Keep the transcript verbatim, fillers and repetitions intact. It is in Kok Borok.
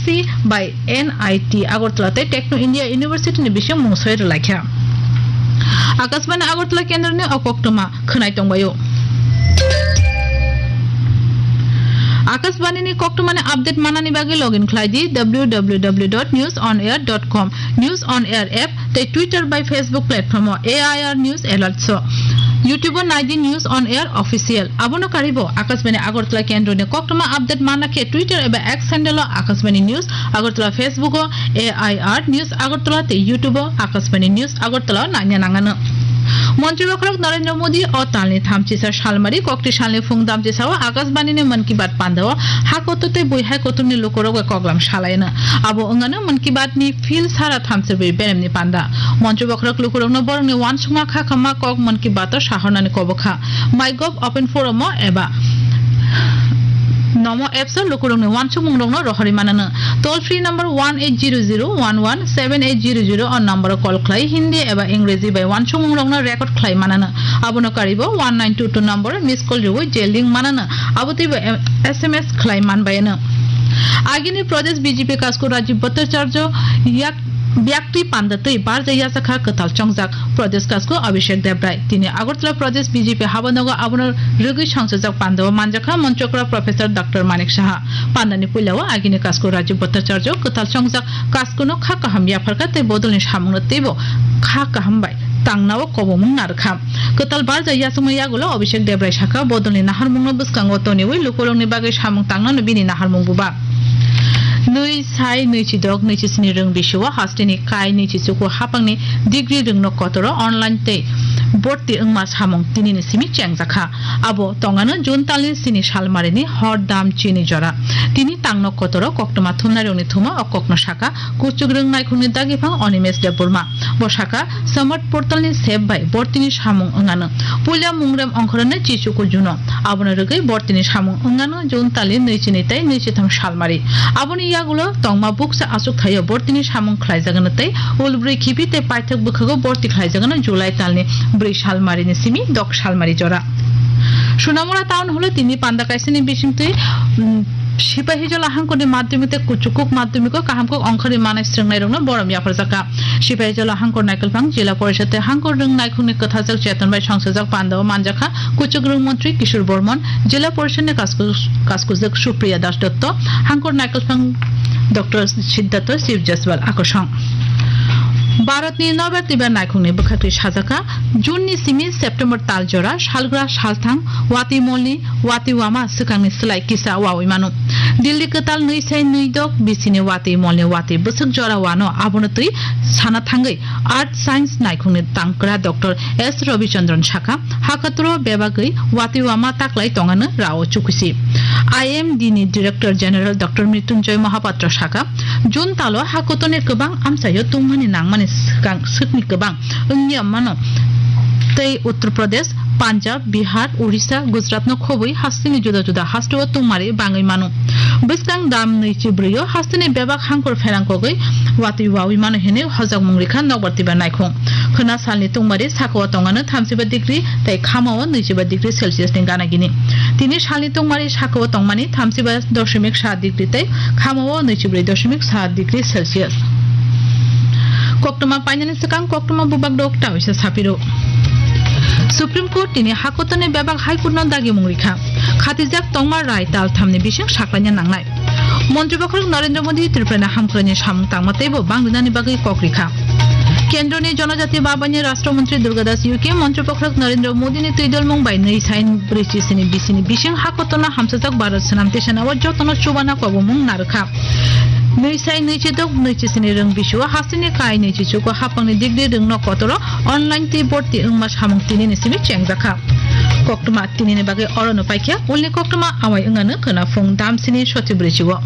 C by N I T Agartala tei Techno India University ni bising mung soi rwlaikha. Akashbani Agartala kendroni o koktwma khwnai tongbaio. Akashbani ni koktwmani update manani bagwi login khlai di W W W dot news on air dot com, News on Air app tei Twitter bai Facebook platform o A I R News Alerts o. YouTube o nai di News on Air Official. Abono karibo Akashbani Agartala kendroni koktwma update manna khe Twitter eba X handle o Akashbani News Agartala, Facebook o A I R News Agartala tei YouTube o Akashbani News Agartala o naina nangano. Montri bokhorok Narendra Modi o talni thamchisa salmari kokti salni phung damchisa o Akashbani ni Mann Ki Baat panda o ha kotor tei bui hai kotorni lukurok bai koklam salaino. Abo wngano Mann Ki Baat ni phil sara thamsirwi beremni panda. Montri bokhorok lukurokno borokni uansukma kha khamma kok Mann Ki Baat o sahornani kobokha. MyGov Open Forum o eba Nomo apps o lukurokni uansukmungrokno rohorwi manano. Toll free number one eight zero zero one one seven eight zero zero o number o call khlai Hindi eba Ingreji bai uansukmungrokno record khlai manano. Abono karibo one nine two two number o miss call rwui je link manano. Abo teibo em-, S M S khlai manbayano. Agini Pradesh B J P kasku Rajiv Bhattacharya yak Biaktwi panda twi barja yachakha kwtal chongjak Pradesh kasku Abhishek Debrai. Tini Agartala Pradesh B J P habanogo abono rwgwi songchajak pandao manjakha Manchokra Professor Doctor Manik Saha. Pandani puilao agini kasku Rajiv Bhattacharya kwtal chongjak kaskuno kha kaham yapharkha tei bodolni samungno teibo kha kaham bai tangnao kobomung narwkha. Kwtal barja yachakma yagulo Abhishek Debrai sakha, bodolni naharmungno bwskango toniwi lukurokni bagwi samung tangnano bini naharmung buba. Nwi sai nwi chidok nwi chisni rwng bisio hasteni kai nwi chichuku hapangni degree rwngno kotoro online tei borti wngma samung tinini simi chengjakha. Abo tongano June talni sini salmarini hor dam chini jora. Tini tangno kotoro koktwma thumnairokni thuma o kokno sakha, Kuchuk rwng naikhungni dagiphang Animesh Debbarma. Bo sakha, Samarth portalni sep bai bortini samung wngano. Puila mungrem ongkhoroni chichuku juno. Abono rwgwi bortini samung wngano June tali nwi chini tei nwi chitham salmari. Aboni yagulo tongma bukcha achuk thaio bortini samung khlaijagano tei ulbrwi khibi tei paithak bwkhago borti khlaijagano July talni brwi salmarini simi dok salmari jora. Sonamura town holo tini panda kaisani bisingtwi, mm, Sipahijola hangkorni madhyamik tei kuchukuk madhyamiko kaham kok ongkhorwi manai srwngnairokno borom yapharjakha. Sipahijola hangkor naikolphang Jila Porishad tei hangkor rwng naikhungni kwthajak cheton bai songchajak pandao manjakha kuchuk rwng montri Kishore Bormon, Jila Porishadni kasku-, kaskujak Supriya Das Dotto, hangkor naikolphang Doctor Siddhartha Shiv Jaswal akosong. Bharatni nobar twibar naikhungni bwkhaktwi sajakha, June ni simi September tal jora salgra salthang watwi molni watwi wama swkangni slai kisa wawi mano. Delhi kwtal nwi sai nwi dok bisini watwi molni watwi bwswk jora wano abono twi sana thangwi Earth Science naikhungni tangkra Doctor S Ravichandran sakha, hakatro bebagwi watwi wama taklai tongano rao chukusi. I M D ni Director General Doctor Mrityunjoy Mohapatra sakha, June talo hakotorni kwbang amchaio tungmani nangmani swkang swkni kwbang wngya mano. Tei Uttar Pradesh, Punjab, Bihar, Orissa, Gujarat no khobwi hasteni juda juda hasteo tungmari bangwi mano. Bwskang dam nwi chi brwi o hasteni bebak hangkor pherang kogwi watwi wawi mano hinwi hojakmung rikha nokbar twibar naikhung. Khwna salni tungmari sakao tongano thamsiba degree tei khamao nwichiba degree Celsius ni gana gini. Tini salni tungmari sakao tongmani thamsiba doshimik sa degree tei khamao nwichibrwi doshimik sa degree Celsius. Koktwma painani swkang koktwma bubak dok tawisa sapiro. Supreme Court tini hakotorni bebak High Court no dagimung rikha. Khatijak tongma rai tal thamni bising saklaina nangnai. Montri bokhorok Narendra Modi Tripura ni hamkraini samung tangma teibo bangrinani bagwi kok rikha. Kendroni Jonojati Babani Rashtra Montri Durga Das U K Montri bokhorok Narendra Modi ni twidolmung bai nwi sai brwi chisini bisini bising hakotorno hamsajak Bharat Swnam Tisana o jotono chubana kobomung narwkha. Nwi sai nwi chidok nwi chisini rwng bisio hasteni kai nwi chichuko hapangni degree rwngno kotoro online tei borti wngma samung tinini simi chengjakha. Koktwma tinini bagwi orono paikha, ulni koktwma awai wngano khwna phung damsini soti brwichigo.